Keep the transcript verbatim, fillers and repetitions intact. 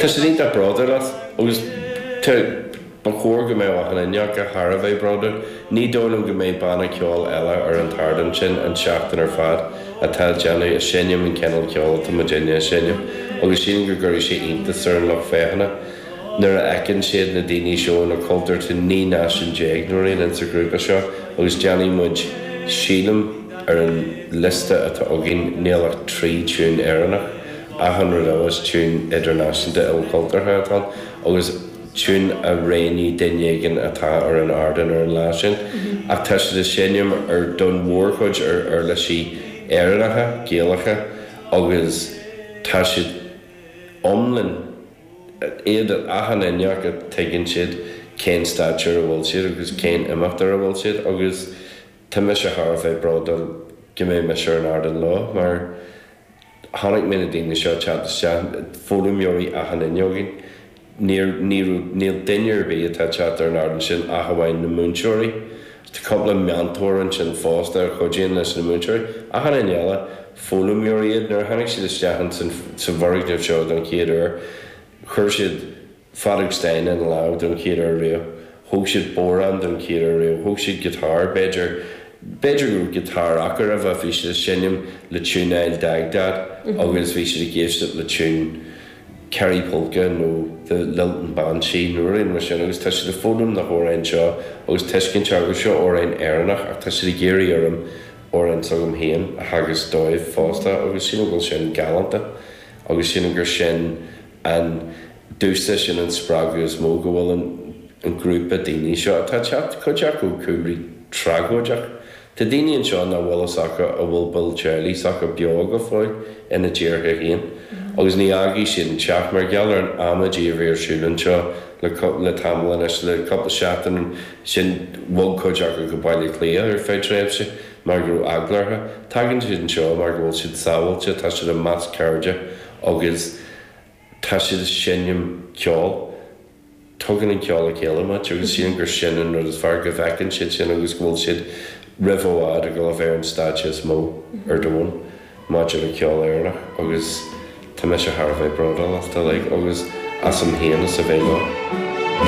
Tá siad iontach bródúil as agus ba chóir go mbeadh achan duine acu thar a bheith bródúil. Ní dóigh liom go mbeidh banna ceoil eile ar an t-ardán sin an tseachtain ar fad atá ag déanamh ag seinm an cineál ceoil atá muidinne ag seinm agus sílim go gcuirfidh sé iontas ar an lucht féachana nuair a fheiceann siad na daoine seo na cultúir tá naoi náisiún déag nó aon insa ghrúpa seo agus déanfaidh muid sílim ar an liosta atá againn níl ach trí tiún Éireannach achan rud eile is tiún idirnáisiúnta ilchultúrtha atá agus tiún a roghnaigh duine éigin atá ar an ardán ar an lá sin ach tá siad ag seinm ar don mhórchuid ar uirlisí Éireannacha, Gaelacha agus tá siad iomlán iad achan duine acu tuigeann siad cén stáitse ar a bhfuil siad agus cén imeacht ar a bhfuil siad agus tá mise thar a bheith bródúil go mbeidh mise ar an ardán leo mar chonaic mé na daoine seo teacht isteach foghlaimeoirí achan duine againn. Níl níl duine ar bith atá teacht ar an ardán sin ach amháin na múinteoirí. Tá cúpla meantóir ansin fosta a chuidíonn leis na múinteoirí. Achan duine eile foghlaimeoirí iad nuair a tháinig siad isteach sa bhfoirgneamh seo don chéad uair chuir siad feadóg stáin ina lámh don chéad uair riamh. Thóg siad bodhrán don chéad uair riamh, thóg siad giotár b'fhéidir b'fhéidir go raibh giotár acu roimhe bhí siad ag seinm le tiún I'll Dagdad agus bhí siad ag éisteacht le tiún Kerry Polka nó the Lilton Banshee nó rud mar sin agus tá siad ag foghlaim na hamhráin seo agus tuiscint agus seo amhráin Éireannach ach tá siad ag iarraidh orm amhráin s'agam féin a theagasc dóibh fosta agus sílim go bhfuil sin galánta agus sílim gur sin an dúsa sin an spreagadh is mó go bhfuil an an grúpa daoine seo atá teacht cuid acu cúlraí tragóideach. Tá daoine anseo nach bhfuil fhios acu a bhfuil baill teaghlaigh s'acu beo go fóill ina dtíortha féin agus ní fhágfaidh siad an teach mar gheall ar an amaidí a bhí ar siúl anseo le le tamall anois le cúpla seachtain sin bhog cuid acu go Baile Átha Cliath ar feadh tréimhse mar go raibh eagla orthu. Tagann siad anseo mar go bhfuil siad sábháilte, tá siad i measc cairde agus tá siad ag seinm ceoil. Tugann an ceol le chéile muid agus sílim gur sin an rud is fearr go bhfeiceann siad sin agus go bhfuil siad roimh i bhfad ag dul a bheith ar an stáitse is mó ar domhan maidir le ceol Éireannach agus tá mise thar a bheith bródúil as uilig agus asam féin as a bheith leo.